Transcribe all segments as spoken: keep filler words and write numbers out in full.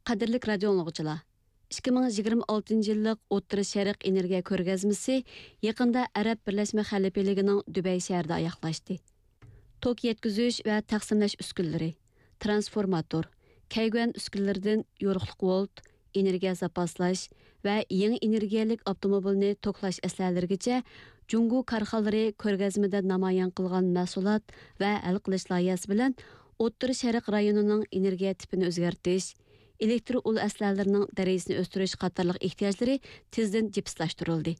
قەدىرلىك رادىئو ئاڭلىغۇچىلار، ئىككى مىڭ يىگىرمە ئالتىنچى يىللىق ئوتتۇرا شەرق ئېنېرگىيە كۆرگەزمىسى يېقىندا ئەرەب بىرلەشمە خەلىپىلىكىنىڭ دۇبەي شەھىرىدە ئاياغلاشتى. توك يەتكۈزۈش ۋە تەقسىملەش ئۈسكۈنىلىرى، ترانسفورماتور، كەيگۈەن ئۈسكۈنىلىرىدىن يورۇقلۇق ۋولت، ئېنېرگىيە زاپاسلاش ۋە يېڭى ئېنېرگىيەلىك ئاپتوموبىلنى توكلاش ئەسلىھەلىرىگىچە جۇڭگو كارخانىلىرى كۆرگەزمىدە نامايان قىلغان مەھسۇلات ۋە ھەل قىلىش لايىھەسى بىلەن ئوتتۇرا شەرق رايونىنىڭ ئېنېرگىيە تىپىنى ئۆزگەرتىش، ئېلېكتر ئۇل ئەسلىھەلىرىنىڭ دەرىجىسىنى ئۆستۈرۈش قاتارلىق ئېھتىياجلىرى تېزدىن جىپسلاشتۇرۇلدى.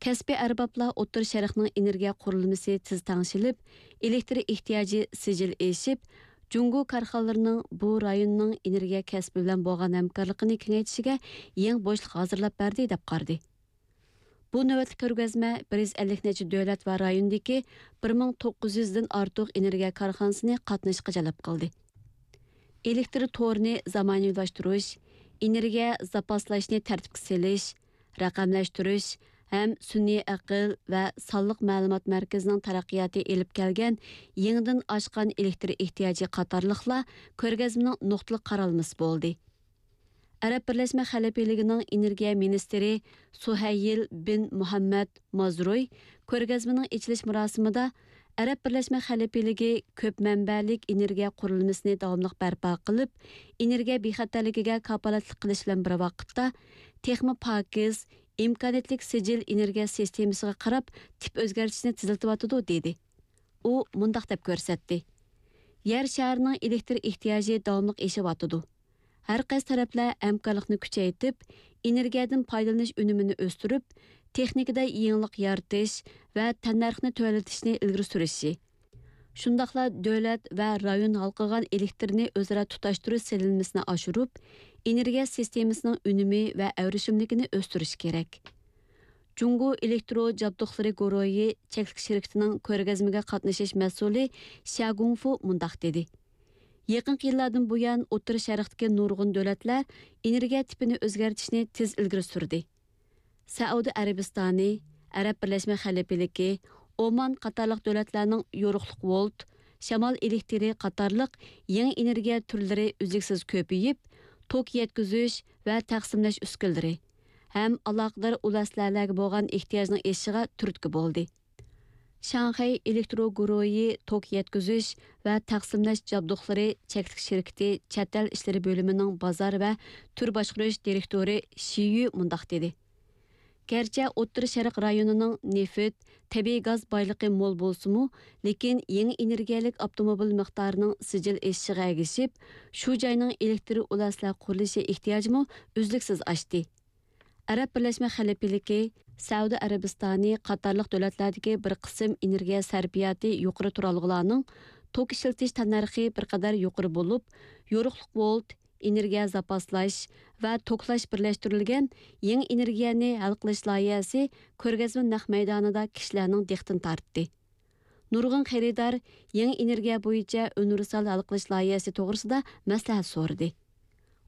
كەسپىي ئەربابلار ئوتتۇرا شەرقنىڭ ئېنېرگىيە قۇرۇلمىسى تېز تەڭشىلىپ، ئېلېكتر ئېھتىياجى سىجىل ئېشىپ، جۇڭگو كارخانىلىرىنىڭ بۇ رايوننىڭ ئېنېرگىيە كەسپى بىلەن بولغان ھەمكارلىقىنى كېڭەيتىشىگە يېڭى بوشلۇق ھازىرلاپ بەردى، دەپ قارىدى. بۇ نۆۋەتلىك كۆرگەزمە بىر يۈز ئەللىك نەچچە دۆلەت ۋە رايوندىكى بىر مىڭ توققۇز يۈزدىن ئارتۇق ئېنېرگىيە كارخانىسىنى قاتنىشىشقا جەلپ قىلدى. ئېلېكتر تورىنى زامانىۋىلاشتۇرۇش، ئېنېرگىيە زاپاسلاشنى تەرتىپكە سېلىش، رەقەملەشتۈرۈش ھەم سۈنئىي ئەقىل ۋە سانلىق مەلۇمات مەركىزىنىڭ تەرەققىياتى ئېلىپ كەلگەن يېڭىدىن ئاشقان ئېلېكتر ئېھتىياجى قاتارلىقلار كۆرگەزمىنىڭ نۇقتىلىق قارالمىسى بولدى. ئەرەب بىرلەشمە خەلىپىلىكىنىڭ ئېنېرگىيە مىنىستىرى سۇھەيل بىن مۇھەممەد مازروي كۆرگەزمىنىڭ ئېچىلىش مۇراسىمىدا، ئەرەب بىرلەشمە خەلىپىلىكى كۆپ مەنبەلىك ئېنېرگىيە قۇرۇلمىسىنى داۋاملىق بەرپا قىلىپ، ئېنېرگىيە بىخەتەرلىكىگە كاپالەتلىك قىلىش بىلەن بىر ۋاقىتتا، تېخىمۇ پاكىز، ئىمكانىيەتلىك سىجىل ئېنېرگىيە سىستېمىسىغا قاراپ تىپ ئۆزگەرتىشنى تېزلىتىۋاتىدۇ، دېدى. ئۇ مۇنداق دەپ كۆرسەتتى: يەر شارىنىڭ ئېلېكتر ئېھتىياجى داۋاملىق ئېشىۋاتىدۇ. ھەر قايسى تەرەپلەر ھەمكارلىقنى كۈچەيتىپ، ئېنېرگىيەدىن پايدىلىنىش ئۈنۈمىنى ئۆستۈرۈپ، تېخنىكىدا يېڭىلىق يارىتىش ۋە تەننەرخنى تۆۋەنلىتىشنى ئىلگىرى سۈرۈشى، شۇنداقلا دۆلەت ۋە رايون ھالقىغان ئېلېكتىرنى ئۆزئارا تۇتاشتۇرۇش سېلىنمىسىنى ئاشۇرۇپ، ئېنېرگىيە سىستېمىسىنىڭ ئۈنۈمى ۋە ئەۋرىشىملىكىنى ئۆستۈرۈش كېرەك. جۇڭگو ئېلېكترو جابدۇقلىرى گۇرۇھى چەكلىك شىركىتىنىڭ كۆرگەزمىگە قاتنىشىش مەسئۇلى شيا گۇڭفۇ مۇنداق دېدى: يېقىنقى يىللاردىن بۇيان، ئوتتۇرا شەرقتىكى نۇرغۇن دۆلەتلەر ئېنېرگىيە تىپىنى ئۆزگەرتىشنى تېز ئىلگىرى سۈردى. سەئۇدى ئەرەبىستانى، ئەرەب بىرلەشمە خەلىپىلىكى، ئومان قاتارلىق دۆلەتلەرنىڭ يورۇقلۇق ۋولت، شامال ئېلېكتىرى قاتارلىق يېڭى ئېنېرگىيە تۈرلىرى ئۈزلۈكسىز كۆپىيىپ، توك يەتكۈزۈش ۋە تەقسىملەش ئۈسكۈنىلىرى ھەم ئالاقىدار ئۇل ئەسلىھەلەرگە بولغان ئېھتىياجنىڭ ئېشىشىغا تۈرتكە بولدى. شاڭخەي ئېلېكترو گۇرۇھى توك يەتكۈزۈش ۋە تەقسىملەش جابدۇقلىرى چەكلىك شىركىتى چەت ئەل ئىشلىرى بۆلۈمىنىڭ بازار ۋە تۈر باشقۇرۇش دىرېكتورى شى يۈ مۇنداق دېدى: گەرچە ئوتتۇرا شەرق رايونىنىڭ نېفىت، تەبىئىي گاز بايلىقى مول بولسىمۇ، لېكىن يېڭى ئېنېرگىيەلىك ئاپتوموبىل مىقدارىنىڭ سىجىل ئېشىشىغا ئەگىشىپ، شۇ جاينىڭ ئېلېكتر ئۇل ئەسلىھە قۇرۇلۇشى ئېھتىياجىمۇ ئۈزلۈكسىز ئاشتى. ئەرەب بىرلەشمە خەلىپىلىكى، سەئۇدى ئەرەبىستانى قاتارلىق دۆلەتلەردىكى بىر قىسىم ئېنېرگىيە سەرپىياتى يۇقىرى تۇرالغۇلارنىڭ توك ئىشلىتىش تەننەرخى بىر قەدەر يۇقىرى بولۇپ، يورۇقلۇق ۋولت، ئېنېرگىيە زاپاسلاش ۋە توكلاش بىرلەشتۈرۈلگەن يېڭى ئېنېرگىيەنى ھەل قىلىش لايىھەسى كۆرگەزمە نەق مەيدانىدا كىشىلەرنىڭ دىققىتىنى تارتتى. نۇرغۇن خېرىدار يېڭى ئېنېرگىيە بويىچە ئۇنىۋېرسال ھەل قىلىش لايىھەسى توغرىسىدا مەسلىھەت سورىدى.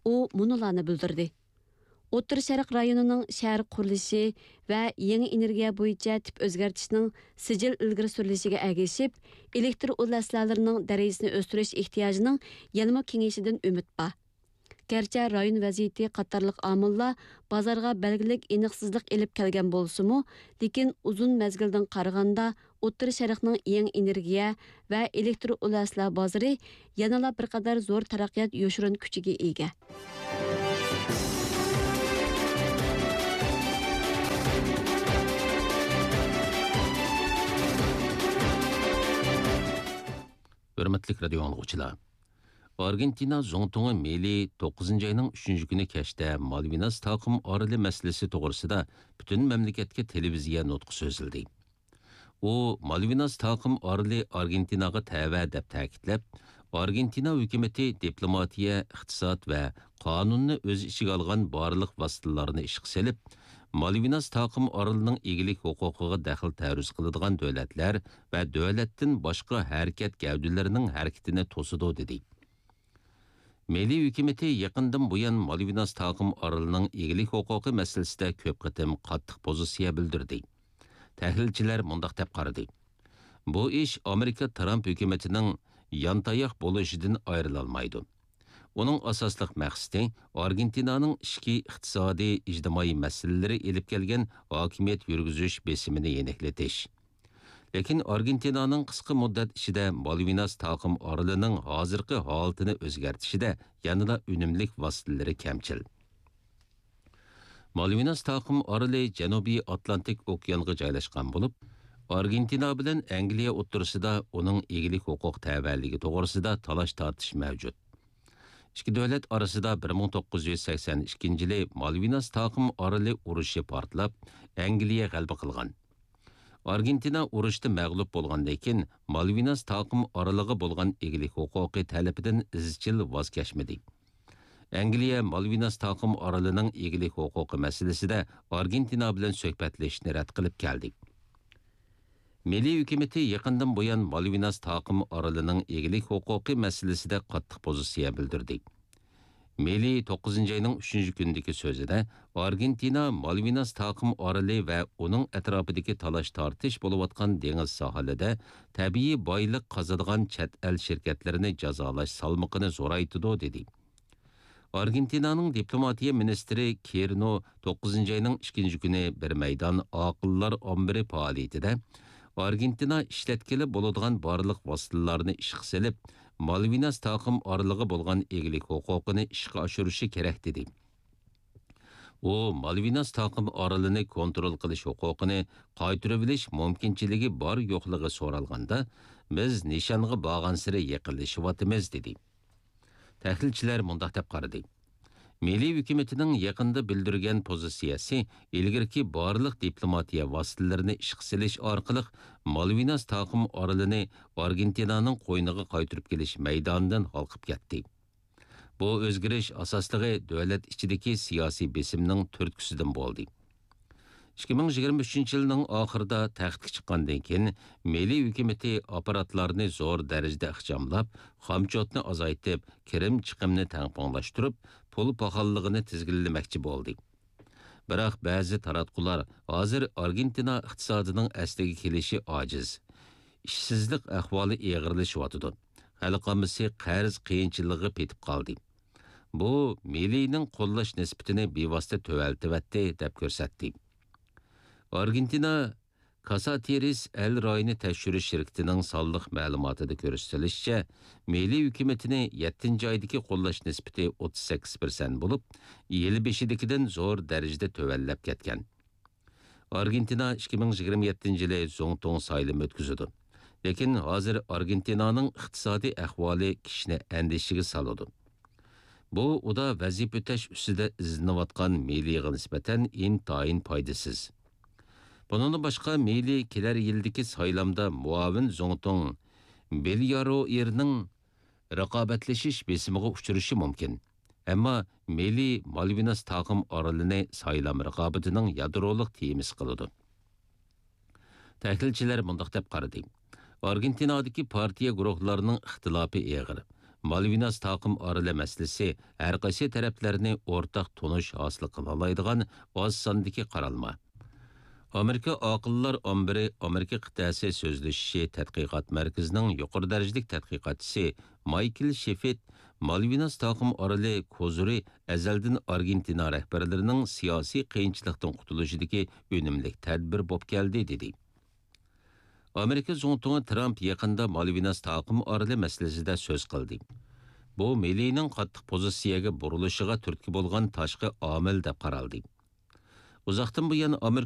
ئۇ مۇنۇلارنى بىلدۈردى: ئوتتۇرا شەرق رايونىنىڭ شەھەر قۇرۇلۇشى ۋە يېڭى ئېنېرگىيە بويىچە تىپ ئۆزگەرتىشنىڭ سىجىل ئىلگىرى سۈرۈلۈشىگە ئەگىشىپ، ئېلېكتر ئۇل ئەسلىھەلىرىنىڭ دەرىجىسىنى ئۆستۈرۈش ئېھتىياجىنىڭ يەنىمۇ كېڭىيىشىدىن ئۈمىد بار. گەرچە رايون ۋەزىيىتى قاتارلىق ئامىللار بازارغا بەلگىلىك ئېنىقسىزلىق ئېلىپ كەلگەن بولسىمۇ، لېكىن ئۇزۇن مەزگىلدىن قارىغاندا، ئوتتۇرا شەرقنىڭ يېڭى ئېنېرگىيە ۋە ئېلېكتر ئۇل ئەسلىھە بازىرى يەنىلا بىر قەدەر زور تەرەققىيات يوشۇرۇن كۈچىگە ئىگە. ھۆرمەتلىك رادىئو ئاڭلىغۇچىلار! ئارگېنتىنا زۇڭتۇڭى مېلى توققۇزىنچى ئاينىڭ ئۈچىنچى كۈنى كەچتە مالۋىناس تاقىم ئارىلى مەسىلىسى توغرىسىدا پۈتۈن مەملىكەتكە تېلېۋىزىيە نۇتقى سۆزلىدى. ئۇ مالۋىناس تاقىم ئارىلى ئارگېنتىناغا تەۋە دەپ تەكىتلەپ، ئارگېنتىنا ھۆكۈمىتى دىپلوماتىيە، ئىقتىساد ۋە قانۇننى ئۆز ئىچىگە ئالغان بارلىق ۋاسىتىلارنى ئىشقا سېلىپ، مالۋىناس تاقىم ئارىلىنىڭ ئىگىلىك ھوقۇقىغا دەخلى تەرۇز قىلىدىغان دۆلەتلەر ۋە دۆلەتتىن باشقا ھەرىكەت گەۋدىلىرىنىڭ ھەرىكىتىنى توسىدۇ، دېدى. مىللىي ھۆكۈمىتى يېقىندىن بۇيان مالۋىناس تاقىم ئارىلىنىڭ ئىگىلىك ھوقۇقى مەسىلىسىدە كۆپ قېتىم قاتتىق پوزىتسىيە بىلدۈردى. تەھلىلچىلەر مۇنداق دەپ قارىدى: بۇ ئىش ئامېرىكا ترامپ ھۆكۈمىتىنىڭ يانتاياق بولۇشىدىن ئايرىلالمايدۇ. ئۇنىڭ ئاساسلىق مەقسىتى ئارگېنتىنانىڭ ئىچكى ئىقتىسادىي، ئىجتىمائىي مەسىلىلىرى ئېلىپ كەلگەن ھاكىمىيەت يۈرگۈزۈش بېسىمىنى يېنىكلىتىش. لېكىن ئارگېنتىنانىڭ قىسقا مۇددەت ئىچىدە مالۋىناس تاقىم ئارىلىنىڭ ھازىرقى ھالىتىنى ئۆزگەرتىشىدە يەنىلا ئۈنۈملۈك ۋاسىتىلىرى كەمچىل. مالۋىناس تاقىم ئارىلى جەنۇبىي ئاتلانتىك ئوكيانغا جايلاشقان بولۇپ، ئارگېنتىنا بىلەن ئەنگلىيە ئوتتۇرىسىدا ئۇنىڭ ئىگىلىك ھوقۇق تەۋەلىكى توغرىسىدا تالاش-تارتىش مەۋجۇت. ئىككى دۆلەت ئارىسىدا بىر مىڭ توققۇز يۈز سەكسەن ئىككىنچى يىلى مالۋىناس تاقىم ئارىلى ئۇرۇشى پارتلاپ، ئەنگلىيە غەلىبە قىلغان. ئارگېنتىنا ئۇرۇشتا مەغلۇپ بولغاندىن كېيىن، مالۋىناس تاقىم ئارىلىغا بولغان ئىگىلىك ھوقۇقى تەلىپىدىن ئىزچىل ۋاز كەچمىدى. ئەنگلىيە مالۋىناس تاقىم ئارىلىنىڭ ئىگىلىك ھوقۇقى مەسىلىسىدە ئارگېنتىنا بىلەن سۆھبەتلىشىشنى رەت قىلىپ كەلدى. مىللىي ھۆكۈمىتى يېقىندىن بۇيان مالۋىناس تاقىم ئارىلىنىڭ ئىگىلىك ھوقۇقى مەسىلىسىدە قاتتىق پوزىتسىيە بىلدۈردى. مىللىي توققۇزىنچى ئاينىڭ ئۈچىنچى كۈنىدىكى سۆزىدە، ئارگېنتىنا مالۋىناس تاقىم ئارىلى ۋە ئۇنىڭ ئەتراپىدىكى تالاش-تارتىش بولۇۋاتقان دېڭىز ساھىلىدە تەبىئىي بايلىق قازىدىغان چەت ئەل شىركەتلىرىنى جازالاش سالمىقىنى زورايتىدۇ، دېدى. ئارگېنتىنانىڭ دىپلوماتىيە مىنىستىرى كىرنو توققۇزىنچى ئاينىڭ ئىككىنچى كۈنى بىر مەيدان ئاقىللار ئامبىرى پائالىيىتىدە، ئارگېنتىنا ئىشلەتكىلى بولىدىغان بارلىق ۋاسىتىلەرنى ئىشقا سېلىپ، مالۋىناس تاقىم ئارىلىغا بولغان ئىگىلىك ھوقۇقىنى ئىشقا ئاشۇرۇشى كېرەك، دېدى. ئۇ مالۋىناس تاقىم ئارىلىنى كونترول قىلىش ھوقۇقىنى قايتۇرۇۋېلىش مۇمكىنچىلىكى بار-يوقلۇقى سورالغاندا، بىز نىشانغا بارغانسېرى يېقىنلىشىۋاتىمىز، دېدى. تەھلىلچىلەر مۇنداق دەپ قارىدى: مىللىي ھۆكۈمىتىنىڭ يېقىندا بىلدۈرگەن پوزىتسىيەسى ئىلگىرىكى بارلىق دىپلوماتىيە ۋاسىتىلىرىنى ئىشقا سېلىش ئارقىلىق مالۋىناس تاقىم ئارىلىنى ئارگېنتىنانىڭ قوينىغا قايتۇرۇپ كېلىش مەيدانىدىن ھالقىپ كەتتى. بۇ ئۆزگىرىش ئاساسلىقى دۆلەت ئىچىدىكى سىياسىي بېسىمنىڭ تۈرتكىسىدىن بولدى. ئىككى مىڭ يىگىرمە ئۈچىنچى يىلنىڭ ئاخىرىدا تەختكە چىققاندىن كېيىن، مىللىي ھۆكۈمىتى ئاپپاراتلارنى زور دەرىجىدە ئىخچاملاپ، خامچوتنى ئازايتىپ، كىرىم چىقىمنى تەڭپۇڭلاشتۇرۇپ، پۇل پاخاللىقىنى تىزگىنلىمەكچى بولدى. بىراق بەزى تاراتقۇلار ھازىر ئارگېنتىنا ئىقتىسادىنىڭ ئەسلىگە كېلىشى ئاجىز، ئىشسىزلىق ئەھۋالى ئېغىرلىشىۋاتىدۇ، خەلق ئاممىسى قەرز قىيىنچىلىقىغا پېتىپ قالدى. بۇ مىلىنىڭ قوللاش نىسبىتىنى بىۋاسىتە تۆۋەنلىتىۋەتتى، دەپ كۆرسەتتى. ئارگېنتىنا كاساتىرىس ئەل رايىنى تەكشۈرۈش شىركىتىنىڭ سانلىق مەلۇماتىدا كۆرسىتىلىشىچە، مىلىي ھۆكۈمىتىنى يەتتىنچى ئايدىكى قوللاش نىسبىتى ئوتتۇز سەككىز پىرسەنت بولۇپ، يىل بېشىدىكىدىن زور دەرىجىدە تۆۋەنلەپ كەتكەن. ئارگېنتىنا ئىككى مىڭ يىگىرمە يەتتىنچى يىلى زۇڭتۇڭ سايلىمى ئۆتكۈزىدۇ. لېكىن ھازىر ئارگېنتىنانىڭ ئىقتىسادىي ئەھۋالى كىشىنى ئەندىشىگە سالىدۇ. بۇ ئۇدا ۋەزىپە ئۆتەش ئۈستىدە ئىزدىنىۋاتقان مىلىغا نىسبەتەن ئىنتايىن پايدىسىز. بۇنىڭدىن باشقا، مىلى كېلەر يىلدىكى سايلامدا مۇئاۋىن زۇڭتۇڭ بېلياروئېرنىڭ رىقابەتلىشىش بېسىمىغا ئۇچرىشى مۇمكىن. ئەمما مىلى مالۋىناس تاقىم ئارىلىنى سايلام رىقابىتىنىڭ يادرولۇق تېمىسى قىلىدۇ. تەھلىلچىلەر مۇنداق دەپ قارىدى: ئارگېنتىنادىكى پارتىيە گۇرۇھلارنىڭ ئىختىلاپى ئېغىر. مالۋىناس تاقىم ئارىلى مەسىلىسى ھەر قايسى تەرەپلەرنى ئورتاق تونۇش ھاسىل قىلالايدىغان ئاز ساندىكى قارالما. ئامېرىكا ئاقىللار ئامبىرى ئامېرىكا قىتئەسى سۆزلىشىشى تەتقىقات مەركىزىنىڭ يۇقىرى دەرىجىلىك تەتقىقاتچىسى مايكل شېفىت مالۋىناس تاقىم ئارىلى كوزىرى ئەزەلدىن ئارگېنتىنا رەھبەرلىرىنىڭ سىياسىي قىيىنچىلىقتىن قۇتۇلۇشىدىكى ئۈنۈملۈك تەدبىر بولۇپ كەلدى، دېدى. ئامېرىكا زۇڭتۇڭى ترامپ يېقىندا مالۋىناس تاقىم ئارىلى مەسىلىسىدە سۆز قىلدى. بۇ مىلىنىڭ قاتتىق پوزىتسىيەگە بۇرۇلۇشىغا تۈرتكە بولغان تاشقى ئامىل دەپ قارالدى. ئۇزاقتىن بۇيان ئامېرىكا